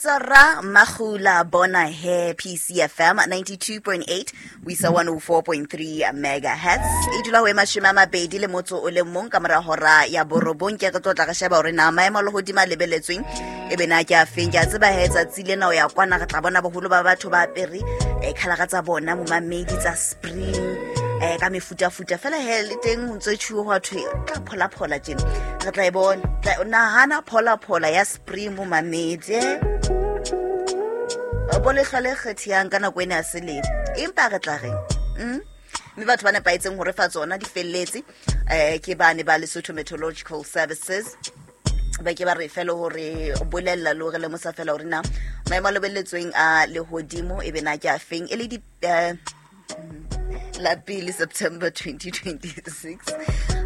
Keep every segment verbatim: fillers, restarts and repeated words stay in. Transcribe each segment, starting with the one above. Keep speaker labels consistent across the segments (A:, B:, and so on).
A: Lebitso ra Magula Bona he P C F M ninety-two point eight ho isa one oh four point three megahertz. E dula ho e mashome a mabedi le motso o le mong ka mora hora ya borobong. Ke re tlo tla re sheba hore na maemo a lehodimo a lebeletsweng e be na ke a feng. Ke a tseba he tsatsi lena o ya kwana re tla bona boholo ba batho ba apere eh khalara tsa bona momamedi tsa spring eh ka mefutafuta fela he le teng ho ntse tjhuwe ho thwe tla phola phola tjena re tla e bona. Tla nahana phola phola ya spring momamedi bo le hlale kgethiyang ka nako ena ya selemo empa re tla reng mm mme batho ba nepahetseng hore fa tsona di felletse eh ke bane ba Lesotho Meteorological Services ba ke ba re fela hore bolella le hore le mosa fela hore na maemo a lebelletsweng a lehodimo e be na ke a feng e le di la pele September twenty twenty-six.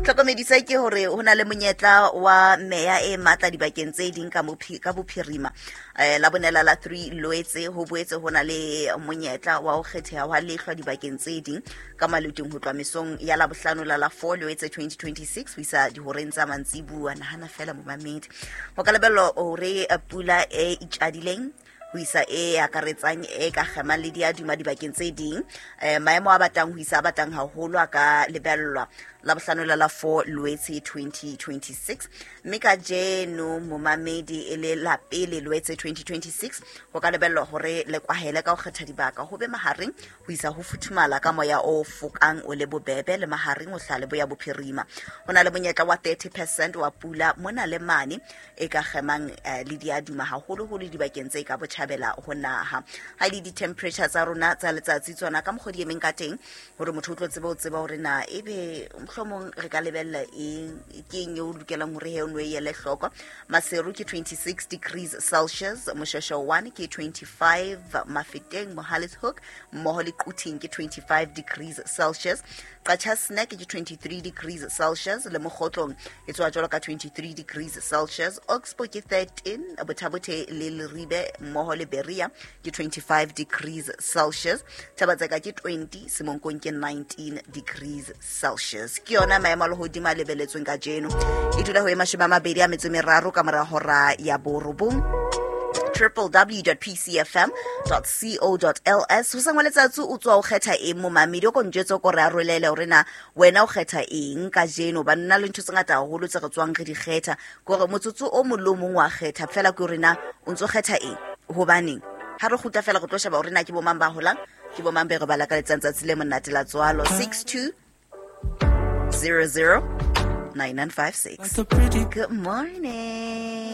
A: Tlhokomedisa ke hore ho na le monyetla wa meya e matla dibakeng tse ding ka ka bophirima eh la bonela la three Loetse ho boetse ho na le monyetla wa ho kgetheha wa lehlwa dibakeng tse ding ka maluting ho tloha mesong ya la bohlano la la four Loetse twenty twenty-six ho isa dihoreng tsa mantsibuya. Nahana fela momamedi ho ka lebellwa hore pula e itjadileng ho isa e akaretsang e ka kgemang le diaduma dibakeng tse ding eh maemo a batang ho isa a batang haholo a ka lebellwa la bohlano la la four Loetse twenty twenty-six. Mme kajeno momamedi e le la pele Loetse twenty twenty-six ho ka lebellwa hore le kwahele ka ho kgetha dibaka ho be mahareng ho isa ho futhumala ka moya o fokang o le bobebe le mahareng o hlale boya bophirima. Ho na le monyetla wa thirty percent wa pula mona le mane e ka kgemang le diaduma haholoholo dibakeng tse ka botjhabela ho naha. Ha le di-temperature tsa rona tsa letsatsi tsona ka mokgwa di emeng ka teng hore motho o tlo tsebe ho tseba hore na ebe mohlomong re ka lebella eng ke eng eo lokelang hore he o nwe ele hloko. Maseru ke twenty-six degrees Celsius, Moshweshwe one ke twenty-five, Mafeteng Mohale's Hoek mmoho le Quthing ke twenty-five degrees Celsius, Qacha's Nek ke twenty-three degrees Celsius le Mokgotlong e tswa jwalo ka twenty-three degrees Celsius, Oxbow ke thirteen, Bothabothe le Leribe mmoho le Berea ke twenty-five degrees Celsius, Thabatseka ke twenty, Semonkong ke nineteen degrees Celsius. Ke yona maemo a lehodimo a lebeletsweng kajeno. E dula ho e mashome a mabedi a metso e meraro ka mora hora ya borobong. w w w dot p c f m dot co dot l s. Ho sangwa letsatsi o tswa o kgetha eng momamedi o ko njwetse ko re arolele hore na wena o kgetha eng kajeno. Ba nna le ntho tse ngata haholo tse re tswang re di kgetha kore motsotso o mong le o mong wa kgetha fela ke hore na o ntso kgetha eng hobaneng. Ha re kgutla fela re tlo sheba hore na ke bo mang ba holang ke bo mang be re ba lakaletsang tsatsi le monate la tswalo. Six two zero zero nine nine five six. Good morning.